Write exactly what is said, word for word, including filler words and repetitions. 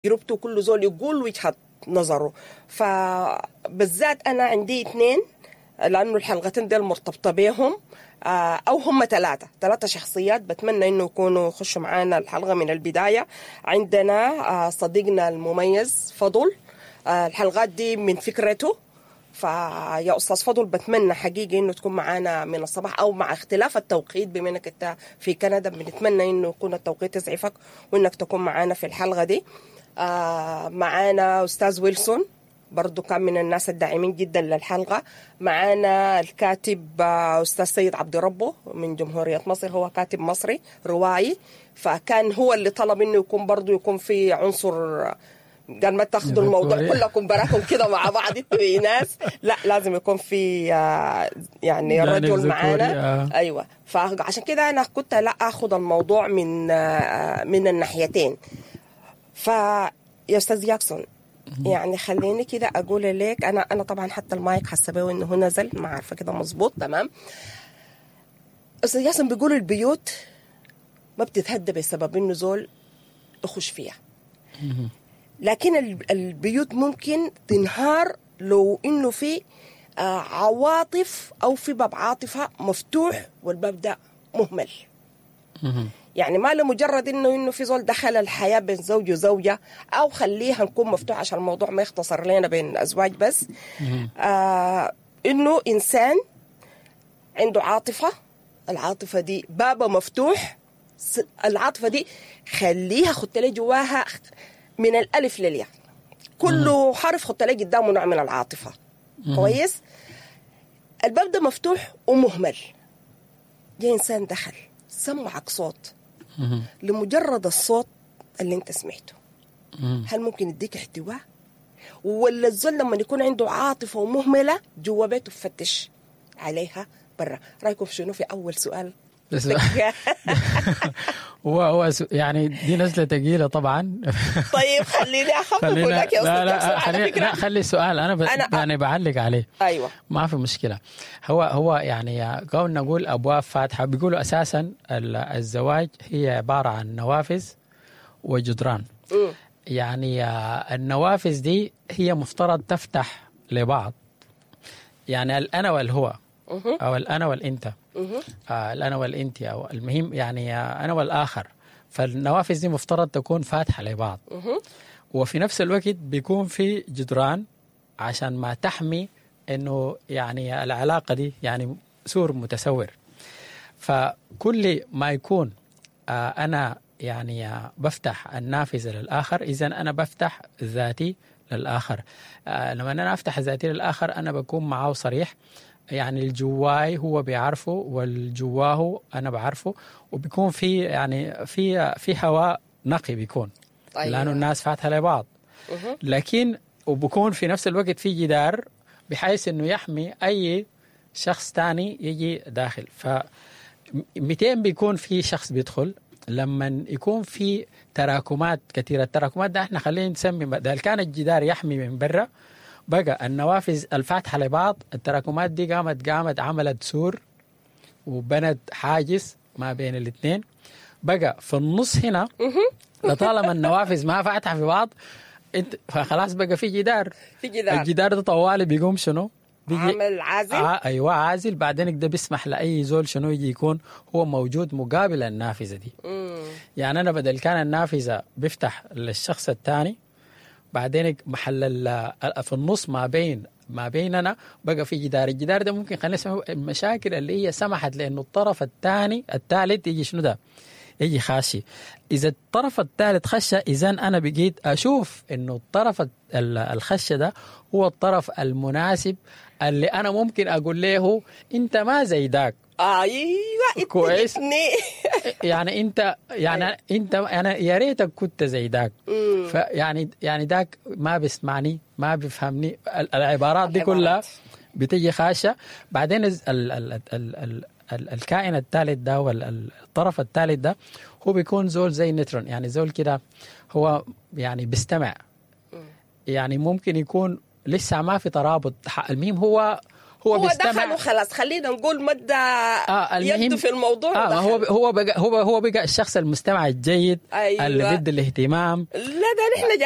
تجربته، كل زول يقول وجهة نظره. فبالذات أنا عندي اثنين لأنه الحلقتين ديل مرتبطة بيهم، آه، أو هم ثلاثة ثلاثة شخصيات بتمنى إنه يكونوا يخشوا معانا الحلقة من البداية. عندنا آه، صديقنا المميز فضل، آه، الحلقات دي من فكرته. فيا أستاذ فضل بتمنى حقيقي إنه تكون معانا من الصباح، أو مع اختلاف التوقيت بما إنك أنت في كندا بنتمنى إنه يكون التوقيت يسعفك وإنك تكون معانا في الحلقة دي. آه معانا أستاذ ويلسون برضو كان من الناس الداعمين جدا للحلقة. معانا الكاتب آه، أستاذ سيد عبد ربه من جمهورية مصر، هو كاتب مصري روائي، فكان هو اللي طلب إنه يكون برضو يكون في عنصر، قال ما تاخذوا الموضوع كلكم براكم كده مع بعض انتوا ناس، لا لازم يكون في آه، يعني رجل معانا. آه. ايوه، فعشان كده انا كنت لا اخذ الموضوع من آه، من الناحيتين. فيا استاذ جاكسون يعني خليني كده اقول لك، انا انا طبعا حتى المايك حاسه بيه انه هو نزل، ما عارفه كده مظبوط تمام. استاذ جاكسون بيقولوا البيوت ما بتتهدى بسبب انه زول يخش فيها، لكن البيوت ممكن تنهار لو انه في عواطف او في باب عاطفة مفتوح والباب ده مهمل. يعني ما لمجرد انه انه في زول دخل الحياة بين زوج وزوجه، او خليها نكون مفتوح عشان الموضوع ما يختصر لنا بين ازواج بس، آه انه انسان عنده عاطفة، العاطفة دي بابه مفتوح، العاطفة دي خليها خدت لي جواها من الالف للياء، كل حرف خدت لي قدامه نوع من العاطفة. كويس، الباب ده مفتوح ومهمل، جاي انسان دخل سمعك صوت، لمجرد الصوت اللي انت سمعته هل ممكن يديك احتواء؟ ولا الزول لما يكون عنده عاطفة ومهملة جوا بيته بفتش عليها برا؟ رأيكم شنو في أول سؤال؟ هو هو يعني دي نزله ثقيلة طبعا. طيب خليني اخفف لك يا استاذ لا لا خلي لا خلي السؤال انا, ب... أنا يعني بعلق عليه. ايوه ما في مشكلة. هو هو يعني قول نقول ابواب فاتحة، بيقولوا اساسا الزواج هي عبارة عن نوافذ وجدران. م. يعني النوافذ دي هي مفترض تفتح لبعض، يعني الانا والهو او الانا والانت، آه الأنا والإنت، أو المهم يعني أنا والآخر. فالنوافذ دي مفترض تكون فاتحة لبعض، وفي نفس الوقت بيكون في جدران عشان ما تحمي إنه يعني العلاقة دي يعني سور متسور. فكل ما يكون آه أنا يعني بفتح النافذة للآخر، إذن أنا بفتح ذاتي للآخر. آه لما أنا أفتح ذاتي للآخر أنا بكون معه صريح، يعني الجواي هو بيعرفه والجواه أنا بعرفه، وبيكون في يعني في في هواء نقي بيكون. طيب. لأنه الناس فاتحة لبعض، لكن وبكون في نفس الوقت في جدار بحيث إنه يحمي أي شخص تاني يجي داخل. ف مئتين بيكون في شخص بيدخل لما يكون في تراكمات كثيرة. التراكمات ده احنا خلينا نسمي ده كان الجدار يحمي من برا، بقى النوافذ الفاتحة لبعض، التراكمات دي قامت قامت عملت سور وبنت حاجز ما بين الاثنين. بقى في النص هنا لطالما النوافذ ما فاتحة في بعض انت فخلاص بقى في جدار، في جدار. الجدار ده طوالي بيقوم شنو؟ عامل عازل. آه ايوه عازل. بعدين ده بيسمح لاي زول شنو يجي يكون هو موجود مقابل النافذة دي. مم. يعني انا بدل كان النافذة بيفتح للشخص الثاني، بعدين محل في النص ما بين ما بيننا بقى في جدار. الجدار ده ممكن خلينا نسميه المشاكل اللي هي سمحت لانه الطرف الثاني الثالث يجي شنو ده يجي خاشي. اذا الطرف الثالث خشه، اذا انا بقيت اشوف انه الطرف الخشه ده هو الطرف المناسب اللي انا ممكن اقول له انت ما زي داك. ايوه كويس. يعني انت يعني انت انا يا ريتك كنت زي داك. فيعني يعني داك ما بيسمعني ما بيفهمني، العبارات دي كلها بتيجي خاشه. بعدين ال ال ال ال ال ال الكائن الثالث ده والطرف الثالث ده هو بيكون زول زي نترون، يعني زول كده هو يعني بيستمع، يعني ممكن يكون لسه ما في ترابط. المهم هو هو, هو بيستمع. دخل وخلاص، خلينا نقول مد آه المهم يده في الموضوع. آه ما هو ودخل. هو بقى هو هو بقى الشخص المستمع الجيد. أيوة. اللي بيدي الاهتمام. لا، ده نحن جايين.